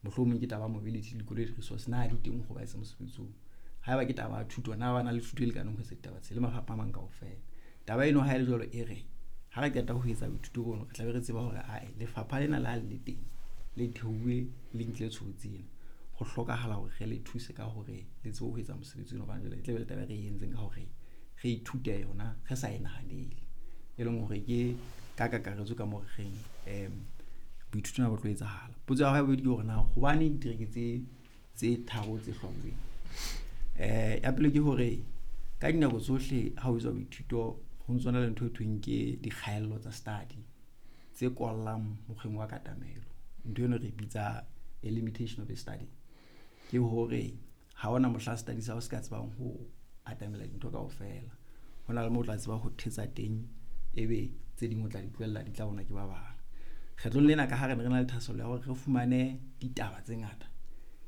Mohlomong ke taba ya mobility, dikoloi, di-resource, na di teng ho ba etsa mosebetsi oo? Haeba ke taba ya thuto, na ba na le thuto e lekaneng ho etsa ditaba tse le mafapha a mang kaofela? Taba eno ha e le jwalo e re ha re qeta ho etsa boithuto bono, re tlabe re tseba hore ae lefapha lena le ha le le teng, le thehuwe, le nkile tshobotsi ena, ho hlokahala hore re le thuse ka hore le tsebe ho etsa mosebetsi ona, hobane jwale e tlabe le taba e re e entseng ka hore re ithute yona re sa e nahanele, e leng hore ke ka kakaretso ka moo re reng boithuto bona bo tlo etsahala. Potso ya hao ya bobedi ke hore na hobaneng ditereke tse tharo tse hlwauweng? Ya pele ke hore ka dinako tsohle ha ho etswa boithuto ho ntso na le ntho e thweng ke dikgaello tsa study tse kwallang mokgweng wa katamelo. Ntho eno re bitsa a limitation of a study. Ke hore ha hona mohla study sa hao se ka tsebang ho atamela dintho kaofela. Ho na le moo o tla tseba ho thetsa teng, ebe tse ding o tla di tlohella di tla bonwa ke ba bang. Kgetlong lena ka ha re ne re na le thahasello ya hore re fumane ditaba tse ngata,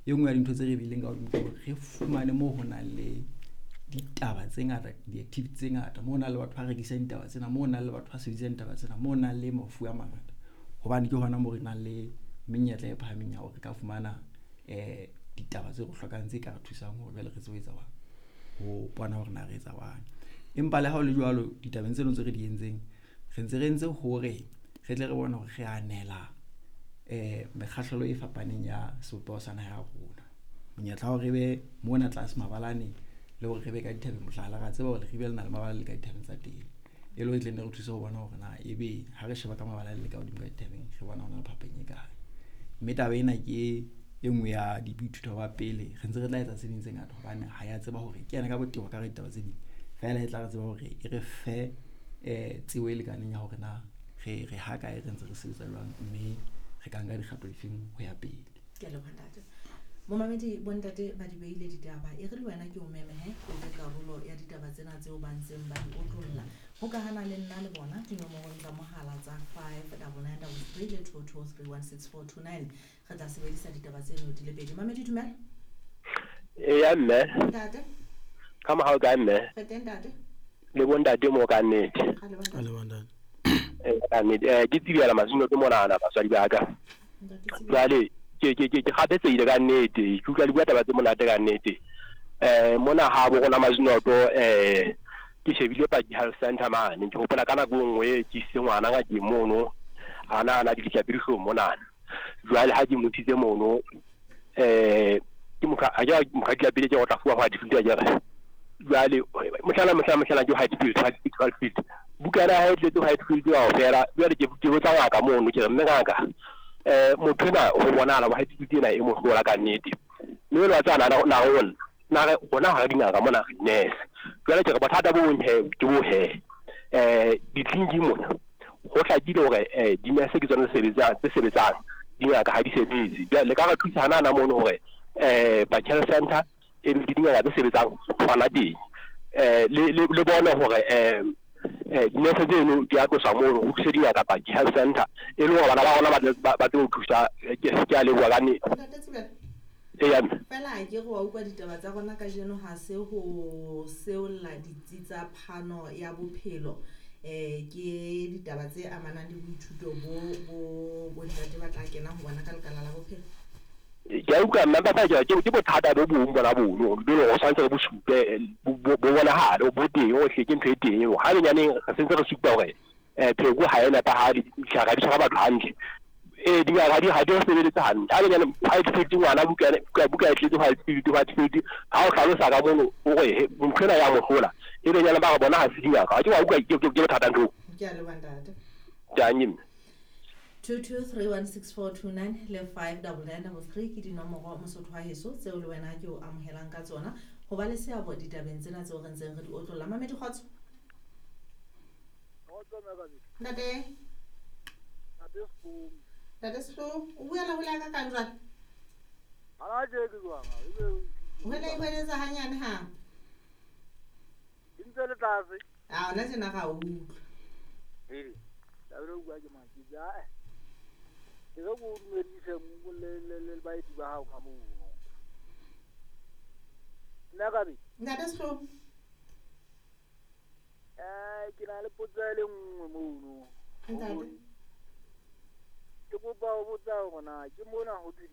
e nngwe ya dintho tse re bileng ka hodimo ke hore re fumane moo ho nang le ditaba tse ngata, di-activity tse ngata, moo ho nang le batho ba rekisang ditaba tsena, moo ho nang le batho ba sebedisang ditaba tsena, moo ho nang le mafu a mangata. Hobane ke hona moo re nang le menyetla e phahameng ya hore re ka fumana ditaba tse re hlokang tse ka re thusang hore jwale re tsebe ho etsa jwang, ho bona hore na re etsa jwang. Empa le ha ho le jwalo, ditabeng tseno tse re di entseng, re ntse re entse hore re tle re bone hore re anela mekgahlelo e fapaneng ya sebopeho sa naha ya rona. Monyetla wa hore re be mona tlase mabalane le hore re be ka dithabeng, mohlala, ra tseba hore Leribe le na le mabala le ka dithabeng tsa teng, e le hore e tle nne re thuse ho bona hore na ebe ha re sheba ka mabala le ka hodimo ka dithabeng, re bona hona le phapang e kae. Mme taba ena ke e nngwe ya boithuto ba pele, re ntse re tla etsa tse ding tse ngata hobane ha ya tseba hore ke yena ka botebo ka re ditaba tse ding, feela e tla re tseba hore e re fe tsebo e lekaneng ya hore na re ha kae, re ntse re sebetsa jwang, mme re ka nka dikgato difeng ho ya pele. Ke a leboha ntate. Momamedi, bontate ba di beile ditaba, e re le wena ke o meme he o be karolo ya ditaba tsena tseo ba ntseng ba di otlolla. Hokahana le nna le bona dinomorong tsa mohala tsa 59933 le 22316429. Re tla sebedisa ditaba tseno di le pedi. Mamedi, dumela. Eya mme. Ntate. Ka mohau kae mme? Re teng ntate. Le bontate mo ka nnete. A le bontate. A le bontate. Ka nnete. Ke tsibela masino ke monana batswadi ba ka. Ntate Tsibela. Jwale ke kgathetsehile ka nnete. Ke utlwa le bua taba tse monate ka nnete. Mona ha bo rona Mazinoto, ke shebile Paki Health Center mane. Ke hopola ka nako e nngwe ke isitse ngwana ngakeng mono, a na na ditlapedihlong monana. Jwale ha ke mo isitse mono, ke motho a ke motho a ditlapedi ke go tla fuwa white field a kere. Jwale mohlala ke white field, white field, white field. Bukana ya hae e tletse white field kaofela. Jwale ke botsa ngaka mono, ke re mme ngaka, motho ena ho bonahala white field ena e mo hlola ka nnete. Mme jwale wa tseba na re ho nna, na re rona ha re dingaka mona re di-nurse. Jwale ke re bothata bo bong he ke bo he, ditleliniking mona ho hlakile hore di-nurse ke tsona tse sebetsang, dingaka ha di sebetse. Jwale le ka re thusa hana mono hore Paki Health Center e be le dingaka tse sebetsang hona teng. Le bone hore di-nurse tseno di a tloswa mono, ho thuse dingaka Paki Health Center, e le hore bana ba rona ba tle ho thusa. Ke a leboha ka nnete. Ntate Tsibela. Eya mme. Fela ha ke re wa utlwa ditaba tsa rona kajeno ha se ho seolla ditsi tsa phano ya bophelo. Ke ditaba tse amanang le boithuto bo bontate ba tla kena ho bona ka lekala la bophelo. Ke a utlwa mme, empa feela ke bothata bo bong bona bono, bo leng hore tshwanetse re bo supe, bo bonahale, bo teng hohle, ke ntho e teng eo. Ha benyaneng re sentse re supa hore pheko ha e nepahale, ditlhare ha di tshwara batho hantle. Dingaka ha di re sebeletse hantle. Ha benyaneng white field ngwana buka e tletse white field, white field. Ha o hlalosa ka mono, o re, he, ntho ena ya mo hlola. E benyane ba re bona ha se dingaka. Ha ke wa utlwa ke bothata ntho. Ke a leboha ntate. Ke a nyemme. 22316429 le 59933 ke dinomoro Mosotho wa heso tseo le wena ke o amohelang ka tsona ho ba le seabo ditabeng tsena tseo re ntseng re di otlolla. Mamedi kgotso. Kgotso, mme Kabedi. Ntate. Ntate Sehlooho. Ntate Sehlooho, o buela hole ka kang jwale? Ha ke ke jwang, ha ebe o Hwele e hweletsa hanyane ha. Ke ntse le tlase. A ona tjena ra utlwa. Ee, taba e bua ke mang? Ke ja, Ke re ko dumedise mo le baeti ba hao ka mono. Nna Kabedi. Ntate Sehlooho. Ke na le potso e le nngwe mono. Ntate. Ke kopa ho botsa hore na ke mona ho thwe